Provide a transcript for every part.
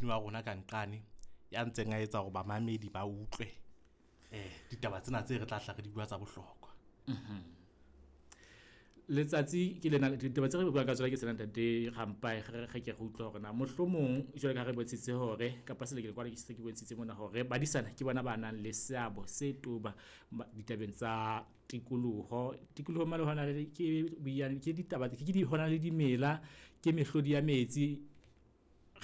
ramotjhini wa rona ka nqane ya ntseng a etsa hore bamamedi ba utlwe ditaba tsena tse re tla hla re di bua tsa bohlokwa. Letsatsi ke lena, ditaba tse re buang ka tsona ke tsena, ntate Rampai. Re ke re utlwa hore na mohlomong jwale ka re bontshitse hore kapa selekele kwana ke se ke bontshitse mona hore badisana ke bona ba nang le seabo se toba ditabeng tsa tikoloho. Tikoloho mane hona le ke boiyane, ke ditaba, ke di hona le dimela, ke mehlodi ya metsi.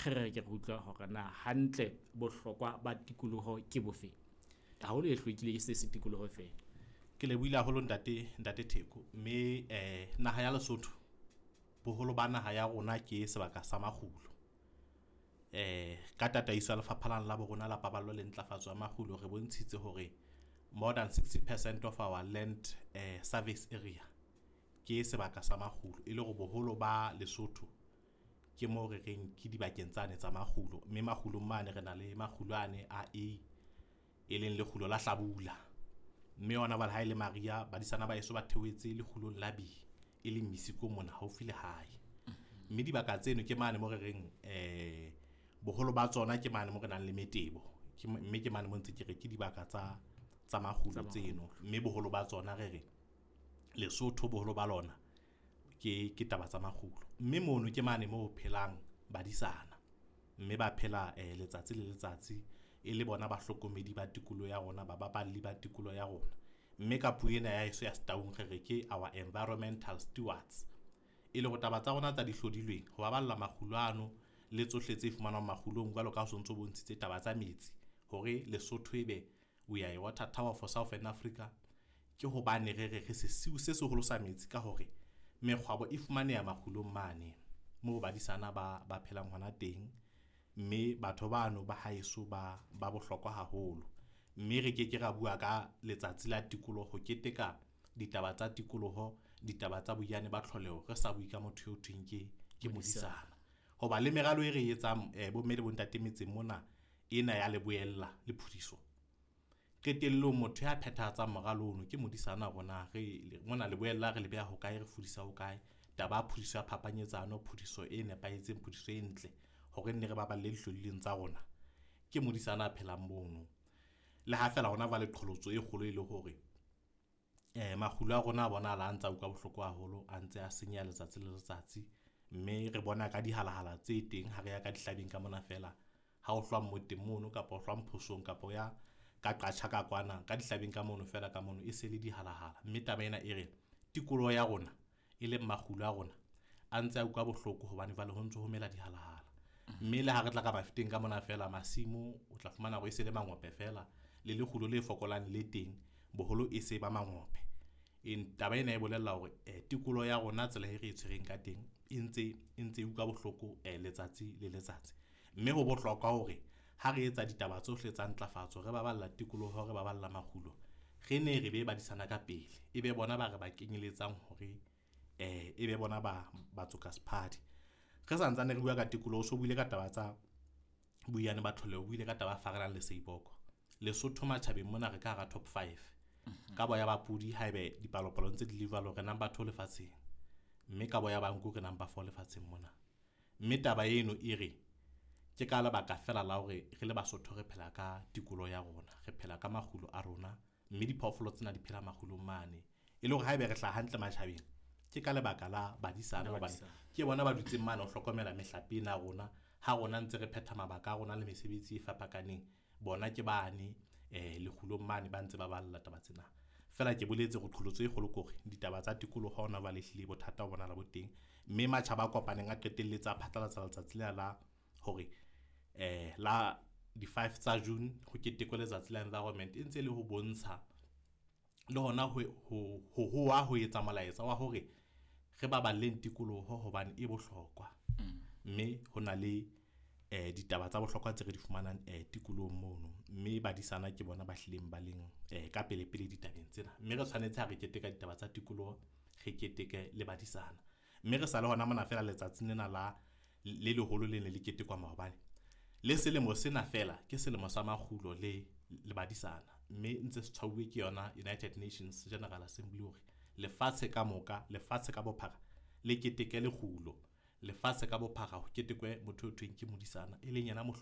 Re ke re utlwa hore na hantle bohlokwa ba tikoloho ke bofe, haholo e hlwekile ke se se tikoloho fela. Ke lebohile haholo, ntate Theko. Mme naha ya Lesotho, boholo ba naha ya rona ke sebaka sa makgulo. Ka tataiso ya lefapha la borona la paballo le ntlafatso ya makgulo, re bontshitse hore more than 60% of our land service area ke sebaka sa makgulo, e le hore boholo ba Lesotho ke mo re reng ke dibakeng tsane tsa makgulo. Mme makgulong mane re na le makgulo ane a A, e leng lekgulo la hlabula, mme hona jwale ha e le mariha badisana ba heso ba theohetse lekgulong la B, e leng Misiko mona haufi le hae. Mme dibaka tseno ke mane mo re reng boholo ba tsona ke mane mo re nang le metebo, mme ke mane mo ntse ke re ke dibaka tsa makgulo tseno. Mme boholo ba tsona re re Lesotho boholo ba lona ke taba tsa makgulo. Mme mono ke mane mo phelang badisana, mme ba phela letsatsi le letsatsi e le bona bahlokomedi ba tikoloho ya rona, ba baballi ba tikoloho ya rona. Mme ka puo ena ya heso ya Setaung re re ke our environmental stewards, e le hore taba tsa rona tsa di hlodilweng ho baballa makgulo ano le tsohle tse fumanwang makgulong, jwalo ka ha o sontso bontshitse taba tsa metsi hore Lesotho ebe we are a water tower for Southern Africa, ke hobane re re re sesiu se seholo sa metsi ka hore mekgwabo e fumaneha makgulong mane moo badisana ba phelang hona teng. Mme batho bano ba haeso ba bohlokwa haholo, mme re ke ke ra bua ka letsatsi la tikoloho keteka ditaba tsa tikoloho, ditaba tsa boiyane ba tlholeho, re sa bue ka motho eo thweng ke modisana. Hoba le meralo e re etsang bomme le bontate metseng mona ena ya leboella le phudiso, qetellong motho ya phethahatsang moralo ono ke modisana. Rona re mona leboella re le beha hokae, re fudisa hokae, taba ya phudiso ya phapanyetsano, phudiso e nepahetseng, phudiso e ntle hore nne re baballe dihlodileng tsa rona, ke modisana a phelang mono. Le ha fela hona jwale qholotso e kgolo e le hore makgulo a rona a bonahala a ntse a utlwa bohloko haholo, a ntse a senyeha letsatsi le letsatsi. Mme re bona ka dihalahala tse teng ha re ya ka dihlabeng ka mona fela, ha o hlwa mmoteng mono kapa o hlwa mphosong kapa o ya ka qatjha ka kwana ka dihlabeng ka mono fela ka mono e se le dihalahala. Mme taba ena e re tikoloho ya rona e leng makgulo a rona a ntse a utlwa bohloko hobane jwale ho ntso ho mela dihalahala. Mme le ha re tla ka bafeteng ka mona fela masimo o tla fumana hore e se le mangope fela, le lekgulo le fokolang le teng boholo e se ba mangope. Taba ena e bolella hore tikoloho ya rona tsela e re e tshwereng ka teng e ntse e utlwa bohloko letsatsi le letsatsi. Mme ho bohlokwa hore ha re etsa ditaba tsohle tsa ntlafatso, re baballa tikoloho, re baballa makgulo, re ne re be badisana ka pele, e be bona ba re ba kenyeletsang hore e be bona ba batsoka sephadi. Re santsane re bua ka tikoloho, so buile ka taba tsa boiyane ba tlholeho, o buile ka taba ya Farelang le Seiboko. Lesotho matjhabeng mona re ka hara top 5 ka boya ba pudi, haebe dipalopalo ntse di le jwalo, re number 2 lefatsheng, mme ka boya ba nku re number 4 lefatsheng mona. Mme taba eno e re ke ka lebaka fela la hore re le Basotho re phela ka tikoloho ya rona, re phela ka makgulo a rona, mme diphoofolo tsena di phela makgulong mane. E le hore haebe re hlaha hantle matjhabeng ke ka lebaka la badisana, hobane ke bona ba dutseng mane ho hlokomela mehlape ena ya rona. Ha rona ntse re phetha mabaka a rona le mesebetsi e fapakaneng, bona ke bane lekgulong mane ba ntse ba balla taba tsena. Fela ke boletse hore qholotso e kgolo ke hore ditaba tsa tikoloho hona jwale ehlile bothata bo bonahala bo teng, mme matjhaba a kopaneng a qetelletse a phatlalatsa letsatsi lena la hore la di-5 tsa June ho ketekwe letsatsi la environment, e ntse le ho bontsha le hona ho hoa ho etsa molaetsa wa hore re baballeng tikoloho hobane e bohlokwa. Mme ho na le ditaba tsa bohlokwa tse re di fumanang tikolohong mono, mme badisana ke bona ba hlileng ba leng ka pele pele ditabeng tsena. Mme re tshwanetse ha re keteka ditaba tsa tikoloho, re keteke le badisana. Mme re sa le hona mona fela letsatsing lena la le leholo le ne le ketekwa maobane, le selemo sena fela ke selemo sa makgulo le badisana, mme ntse se tshwauwe ke yona United Nations General Assembly hore lefatshe ka moka, lefatshe ka bophara le keteke lekgulo, lefatshe ka bophara ho ketekwe motho o thweng ke modisana, e leng yena mohlo